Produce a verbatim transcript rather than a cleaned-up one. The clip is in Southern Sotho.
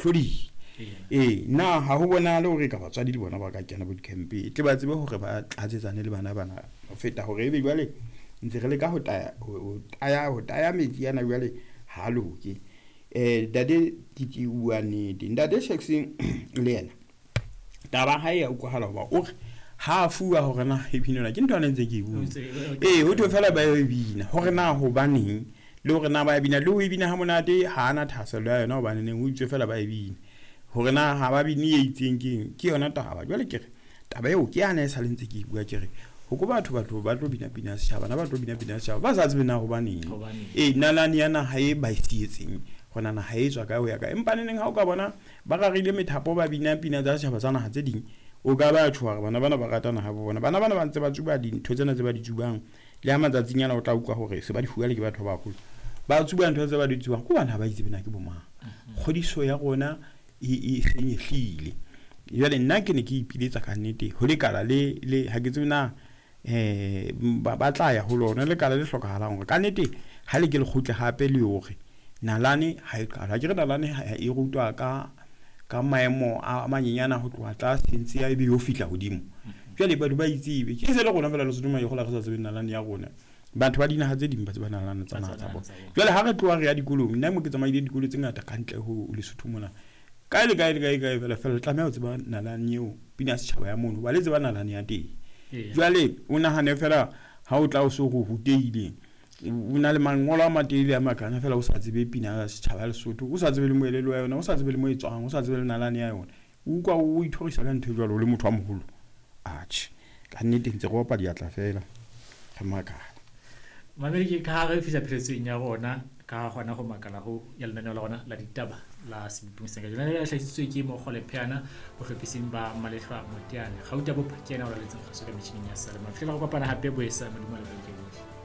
hlodile. Ee, na ha ho bonahale hore ka batswadi le bona ba ka kena bo di-camp tle ba tsebe hore ba tlatsetsane le bana bana ho feta hore ebe jwale ntse re leka ho taya ho taya ho taya metsi ana jwale ha loke. Eh ntate Titi o bua nnete, ntate Shakes le yena taba ha e ya utlwahala hoba o re ha a fuwa hore na e binelwa ke ntho ane ntse ke e bua. Ee, ho thwe fela ba e bina hore na hobaneng le hore na ba e bina le ho e bina ha monate ha ana thahasello ya yona hobane neng ho itswe fela ba e bina. Hore na ha ba bine e itseng keng ke yona taba. Jwale ke re taba eo ke yane e sale ntse ke e bua ke re ho ko batho batho ba tlo bina pina ya setjhaba na ba tlo bina pina ya setjhaba ba sa tsebe na hobaneng. Ee, nalane ya naha e ba e sietseng hore naha e tswa kae ho ya kae. Empa neneng ha o ka bona ba rarile methapo ba bina pina tsa setjhaba tsa naha tse ding o ka ba tjho hore bana bana ba rata naha bo bona. Bana bana ba ntse ba tsuba dintho tsena tse ba di tsubang le ha matsatsing ana o tla utlwa hore se ba di fuwa le ke batho ba baholo. Ba tsuba ntho tse ba di tsubang ke hobane ha ba itse na ke bo mang. Kgodiso ya rona e e senyehlile. Jwale nna ke ne ke ipiletsa ka nnete ho lekala le le ha ke tsebe na eh ba ba tla ya ho lona lekala le hlokahalang hore ka nnete ha le ke le kgutle hape le hore nalane ha e qala. Ke re nalane ha e rutwa ka ka maemo a manyenyana ho tloha tlase ntse ya ebe yo fihla hodimo. Jwale batho ba itsebe ke se le rona fela Lesotho mo gola re sa tsebe nalane ya rona. Batho ba dinaha tse ding ba tseba nalane tsa naha tsa bona. Jwale ha re tloha re ya dikolong, nna mo ke tsamaile dikolo tse ngata ka ntle ho Lesotho mona. Kae le kae le kae kae fela fela tlameha ho tseba nalane eo pina ya setjhaba ya mono ba le tseba nalane ya teng. Jwale o nahane fela ha o tla o so go rutehile o na le mangolo a matelele a makana fela o sa tsebe pina ya setjhaba ya Lesotho, o sa tsebe le moelelo wa yona, o sa tsebe le mo e tswang, o sa tsebe le nalane ya yona, o utlwa o ithorisa ka ntho e jwalo o le motho wa moholo. Atjhe, ka nnete ntse re opa diatla fela re makala. Mamedi ke ka ha re fihla pheletsong ya rona ka hona ho makala ho ya lenaneo la rona la ditaba la Sebopong sa kajeno. Lenaneo le hlahisitswe ke Mokgole Pheana bohlophising ba Malehlwa Moteane. Gauta Bopha ke yena o raletseng kgaso ka metjhining ya Salema. Fihlela go kopana hape boesa Modimo a le bolokeng.